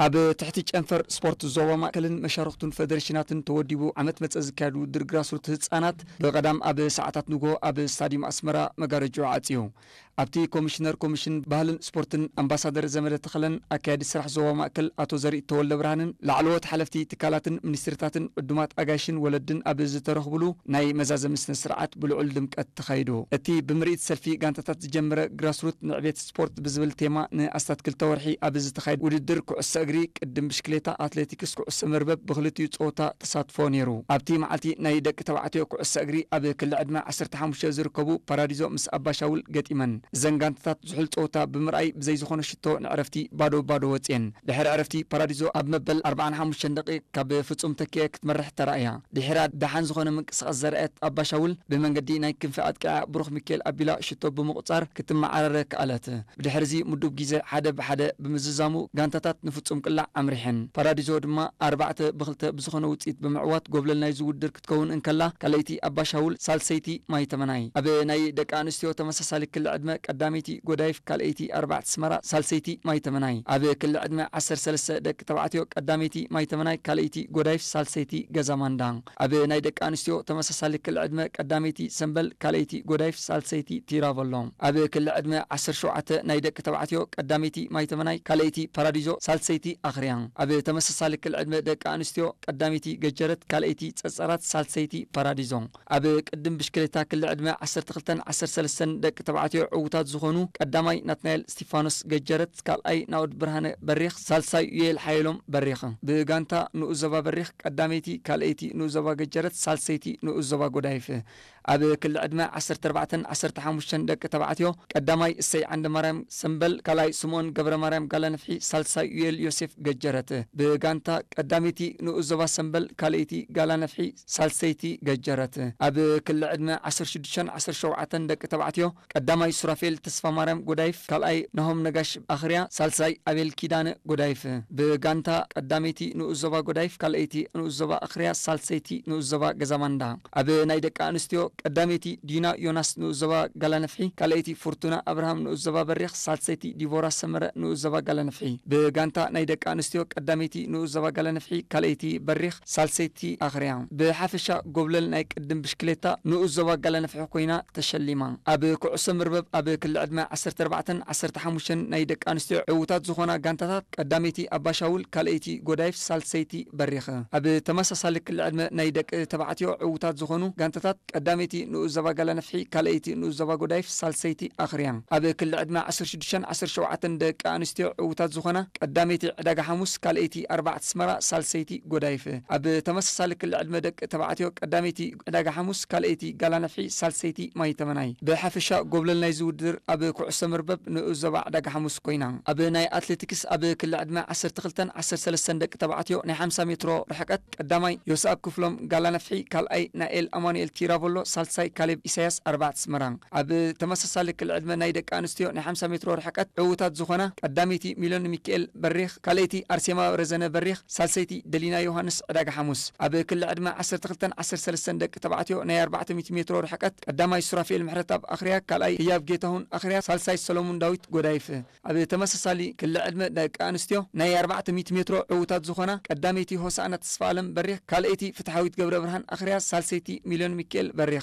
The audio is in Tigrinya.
ኣብ ትሕቲ ጨንፈር ስፖርት ዞባ ማእከልን መሻርኽቱን ፈደሬሽናትን ተወዲቡ ዓመት መጸ ዝካየድ ውድድር ግራስሩት ህጻናት ብቐዳም ኣብ ሰዓታት ንግሆ ኣብ ስታዲየም ኣስመራ መጋረጃ ዓጽዩ። ኣብቲ ኮሚሽነር ኮሚሽን ባህልን ስፖርትን ኣምባሳደር ዘመደ ተኸለን ኣካያዲ ስራሕ ዞባ ማእከል ኣቶ ዘርኢ ተወልደ ብርሃንን ላዕለዎት ሓለፍቲ ትካላትን ሚኒስትርታትን ዕዱማት ኣጋይሽን ወለድን ኣብ ዝተረኽብሉ ናይ መዛዘሚ ስነ ስርዓት ብልዑል ድምቀት ተኻይዱ። እቲ ብምርኢት ሰልፊ ጋንታታት ዝጀመረ ግራስሩት ንዕቤት ስፖርት ብዝብል ቴማ ንኣስታት ክልተ ወርሒ ኣብ ዝተኻየደ ውድድር ኩዕሶ እግሪ፣ ቅድም ብሽክሌታ፣ ኣትሌቲክስ፣ ኩዕሶ መርበብ ብክልቲኡ ጸወታ ተሳትፎ ነይሩ። ኣብቲ መዓልቲ ናይ ደቂ ተባዕትዮ ኩዕሶ እግሪ ኣብ ክሊ ዕድመ ዓሰርተ ሓሙሽተ ዝርከቡ ፓራዲዞ ምስ ኣባሻውል ገጢመን። እዘን ጋንታታት ዝሑል ጸወታ ብምርኣይ ብዘይ ዝኾነ ሽቶ ንዕረፍቲ ባዶ ባዶ ወጽየን። ድሕሪ ዕረፍቲ ፓራዲዞ ኣብ መበል ኣርባዓን ሓሙሽተን ደቂቕ ካብ ፍጹም ተኪኤ ክትመርሕ ተራእያ። ድሒራ ደሓን ዝኾነ ምንቅስቓስ ዘርኣየት ኣባሻውል ብመንገዲ ናይ ክንፊ ኣጥቂዓ ብሩኽ ሚካኤል ኣቢላ ሽቶ ብምቑጻር ክትመዓራረ ከኣለት። ብድሕርዚ ምዱብ ግዜ ሓደ ብሓደ ብምዝዛሙ ጋንታታት ንፍጹም ቅላዕ ኣምሪሐን። ፓራዲዞ ድማ ኣርባዕተ ብክልተ ብዝኾነ ውጽኢት ብምዕዋት ጎብለል ናይዚ ውድድር ክትከውን እንከላ፣ ካልኣይቲ ኣባሻውል፣ ሳልሰይቲ ማይ ተመናይ። ኣብ ናይ ደቂ ኣንስትዮ ተመሳሳሊ ክሊ ዕድመ ቀዳመይቲ ጎዳይፍ፣ ካልኣይቲ ኣርባዕተ ስመራ፣ ሳልሰይቲ ማይ ተመናይ። ኣብ ክሊ ዕድመ ዓሰርተ ሰለስተ ደቂ ተባዕትዮ ቀዳመይቲ ማይ ተመናይ፣ ካልኣይቲ ጎዳይፍ፣ ሳልሰይቲ ገዛ ማንዳ። ኣብ ናይ ደቂ ኣንስትዮ ተመሳሳሊ ክሊ ዕድመ ቀዳመይቲ ሰምበል፣ ካልኣይቲ ጎዳይፍ፣ ሳልሰይቲ ቲራቨሎ። ኣብ ክሊ ዕድመ ዓሰርተ ሸውዓተ ናይ ደቂ ተባዕትዮ ቀዳመይቲ ማይ ተመናይ፣ ካልኣይቲ ፓራዲዞ፣ ሳልሰይቲ ኣኽርያ። ኣብ ተመሳሳሊ ክሊ ዕድመ ደቂ ኣንስትዮ ቀዳመይቲ ገጀረት፣ ካልኣይቲ ጸጸራት፣ ሳልሰይቲ ፓራዲዞ። ኣብ ቅድም ብሽክሌታ ክሊ ዕድመ ዓሰርተ ክልተን ዓሰርተ ሰለስተን ደቂ ተባዕትዮ ዕዉታት ዝኾኑ ቀዳማይ ናትናኤል እስቲፋኖስ ገጀረት፣ ካልኣይ ናኦድ ብርሃነ በሪኽ፣ ሳልሳይ ዩኤል ሓየሎም በሪኽ። ብጋንታ ንኡስ ዞባ በሪኽ ቀዳመይቲ፣ ካልኣይቲ ንኡስ ዞባ ገጀረት፣ ሳልሰይቲ ንኡስ ዞባ ጎዳይፍ። ኣብ ክሊ ዕድመ ዓሰርተ ኣርባዕተን ዓሰርተ ሓሙሽተን ደቂ ተባዕትዮ ቀዳማይ እሰይ ዓንደማርያም ሰምበል፣ ካልኣይ ስምኦን ገብረማርያም ጋላነፍሒ፣ ሳልሳይ ዩኤል ዮሴፍ ገጀረት። ብጋንታ ቀዳመይቲ ንኡስ ዞባ ሰምበል፣ ካልኣይቲ ጋላነፍሒ፣ ሳልሰይቲ ገጀረት። ኣብ ክሊ ዕድመ ዓሰርተ ሽዱሽተን ዓሰርተ ሸውዓተን ደቂ ተባዕትዮ ቀዳማይ ሱራፌል ተስፋማርያም ጎዳይፍ፣ ካልኣይ ናሆም ነጋሽ ኣኽርያ፣ ሳልሳይ ኣቤል ኪዳነ ጎዳይፍ። ብጋንታ ቀዳመይቲ ንኡስ ዞባ ጎዳይፍ፣ ካልኣይቲ ንኡስ ዞባ ኣኽርያ፣ ሳልሰይቲ ንኡስ ዞባ ገዛማንዳ። ኣብ ናይ ደቂ ኣንስትዮ ቀዳመይቲ ዲና ዮናስ ንኡስ ዞባ ጋላነፍሒ፣ ካልኣይቲ ፍርቱና ኣብርሃም ንኡስ ዞባ በሪኽ፣ ሳልሰይቲ ዲቦራ ሰመረ ንኡስ ዞባ ጋላነፍሒ። ብጋንታ ናይ ደቂ ኣንስትዮ ቀዳመይቲ ንኡስ ዞባ ጋላነፍሒ፣ ካልኣይቲ በሪኽ፣ ሳልሰይቲ ኣኽርያ። ብሓፈሻ ጎብለል ናይ ቅድም ብሽክሌታ ንኡስ ዞባ ጋላነፍሒ ኮይና ተሸሊማ። ኣብ ኩዕሶ መርበብ ኣብ ክሊ ዕድመ ዓሰርተ ኣርባዕተን ዓሰርተ ሓሙሽተን ናይ ደቂ ኣንስትዮ ዕዉታት ዝኾና ጋንታታት ቀዳመይቲ ኣባሻውል፣ ካልኣይቲ ጎዳይፍ፣ ሳልሰይቲ በሪኽ። ኣብ ተመሳሳሊ ክሊ ዕድመ ናይ ደቂ ተባዕትዮ ዕዉታት ዝኾኑ ጋንታታት ቀዳመይቲ ንኡስ ዞባ ጋላነፍሒ፣ ካልኣይቲ ንኡስ ዞባ ጎዳይፍ፣ ሳልሰይቲ ኣኽርያ። ኣብ ክሊ ዕድመ ዓሰርተ ሽዱሽተን ዓሰርተ ሸውዓተን ደቂ ኣንስትዮ ዕዉታት ዝኾና ቀዳመይቲ ዕዳጋ ሓሙስ፣ ካልኣይቲ ኣርባዕተ ኣስመራ፣ ሳልሰይቲ ጎዳይፍ። ኣብ ተመሳሳሊ ክሊ ዕድመ ደቂ ተባዕትዮ ቀዳመይቲ ዕዳጋ ሓሙስ፣ ካልኣይቲ ጋላነፍሒ፣ ሳልሰይቲ ማይ ተመናይ። ብሓፈሻ ጎብለል ናይዚ ውድድር ኣብ ኩዕሶ መርበብ ንኡስ ዞባ ዕዳጋ ሓሙስ ኮይና። ኣብ ናይ ኣትሌቲክስ ኣብ ክሊ ዕድመ ዓሰርተ ክልተን ዓሰርተ ሰለስተን ደቂ ተባዕትዮ ናይ ሓምሳ ሜትሮ ርሕቀት ቀዳማይ ዮስኣብ ክፍሎም ጋላነፍሒ፣ ካልኣይ ናኤል ኣማኑኤል ቲራቮሎ፣ ሳልሳይ ካሌብ ኢሳያስ ኣርባዕተ ኣስመራ። ኣብ ተመሳሳሊ ክሊ ዕድመ ናይ ደቂ ኣንስትዮ ናይ ሓምሳ ሜትሮ ርሕቀት ዕዉታት ዝኾና ቀዳመይቲ ሚሎን ሚካኤል በሪኽ፣ ካልኣይቲ ኣርሴማ ረዘነ በሪኽ፣ ሳልሰይቲ ደሊና ዮሃንስ ዕዳጋ ሓሙስ። ኣብ ክሊ ዕድመ ዓሰርተ ክልተን ዓሰርተ ሰለስተን ደቂ ተባዕትዮ ናይ ኣርባዕተ ሚእቲ ሜትሮ ርሕቀት ቀዳማይ ሱራፌል ምሕረትኣብ ኣኽርያ፣ ካልኣይ ህያብ ጌታሁን ኣኽርያ፣ ሳልሳይ ሰሎሙን ዳዊት ጎዳይፍ። ኣብ ተመሳሳሊ ክሊ ዕድመ ደቂ ኣንስትዮ ናይ ኣርባዕተ ሚእቲ ሜትሮ ዕዉታት ዝኾና ቀዳመይቲ ሆሳእና ተስፋኣለም በሪኽ፣ ካልኣይቲ ፍትሓዊት ገብረ ብርሃን ኣኽርያ፣ ሳልሰይቲ ሚልዮን ሚካኤል በሪኽ።